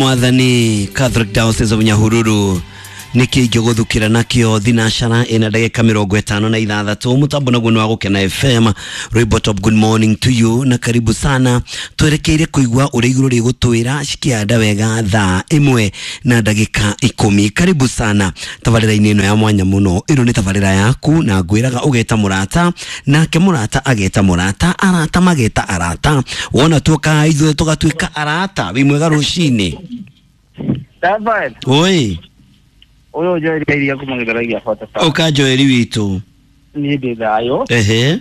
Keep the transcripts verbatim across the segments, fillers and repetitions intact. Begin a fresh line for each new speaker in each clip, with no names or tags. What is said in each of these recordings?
Mwathani Catholic Diocese of Nyahururu nĩkĩ ingĩgũthukĩra nakĩo thinacara ĩna ndagĩka mĩrongo ĩtano na ithathatũ mũtambo naguo nĩ wa Gũkena F M. Rwĩmbo Top, good morning to you na karibu sana. Twerekeire kũigua ũrĩa igũrũ rĩgũtwĩra cikĩanda wega thaa ĩmwe na ndagĩka ikũmi. Karibu sana tabarĩra-inĩ ĩno ya mwanya mũno. Ĩno nĩ tabarĩra yaku na ngwĩraga ũgeta mũrata nake mũrata ageta mũrata, arata mageta arata, wona tuoka ithuĩ tũgatuĩka arata. Wĩ mwega rũcinĩ?
David.
Oi.
Ũyũ Joel iria kuma gĩthũrai bota.
Ũka Joel witũ.
Niĩ ndĩ thayũ.
Ehe.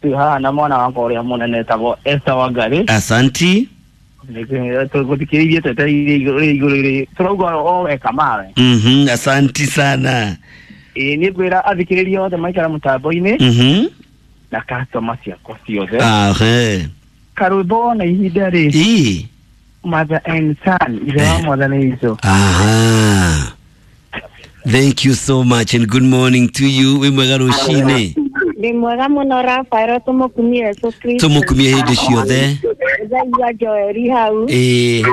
Twĩ haha na mwana wakwa ũrĩa mũnene etagwo Esther Wangari.
Asanti.
Tũgũthikĩrĩirie twetereire igũrũ igũrũ tũrauga o weka mawe.
Mhm, asanti sana.
Ĩĩ niĩ ngwĩra athikĩrĩria othe maikara mũtambo-inĩ.
Mhm.
Na customer ciakwa ciothe.
Ahe.
Karwĩmbo na ihinda rĩ.
Ĩ.
Mother and son, ithe wa Mwathani Jesũ.
Aha. Thank you so much and good morning to you. Wĩ mwega rũcinĩ?
Ndĩ mwega mũno Rafael, tũmũkumie Yesu Kristo.
Tũmũkumie hĩndĩ ciothe.
Ndaigua Joeli hau.
Ĩĩ.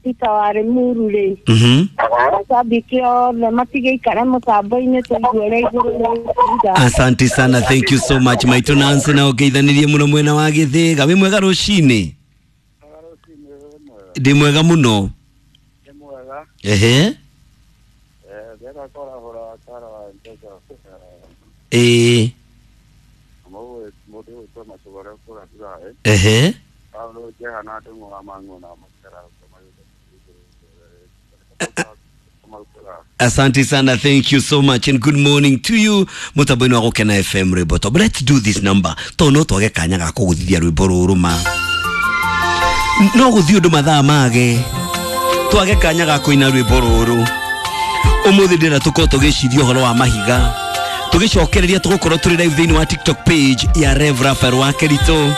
Peter wa Limuru rĩ.
Mhm.
Macambĩki othe matigĩikare mũtambo-inĩ tũigue ũrĩa igũrũ rĩkuga.
Asante sana, thank you so much. Maitũ Nancy na ũngeithanirie mũno mwena wa Gĩthĩga. Wĩ mwega rũcinĩ? Ndĩ mwega mũno.
Ndĩ mwega.
Ehe. Ĩĩ. Ehe. Asante sana, thank you so much and good morning to you. Mutambo-inĩ wa Gũkena F M rwĩmbo Top. Let's do this number tondũ no twage kanya ga kũgũthithia rwĩmbo rũrũ ma. No gũthiĩ ũndũ mathaa mage twage kanya ga kũina rwĩmbo rũrũ. Ũmũthĩ ndĩrenda tũkorwo tũgĩciria ũhoro wa mahiga, tũgĩcokereria tũgũkorwo tũrĩ live thĩinĩ wa TikTok page ya Rev Raphael wa Kerito.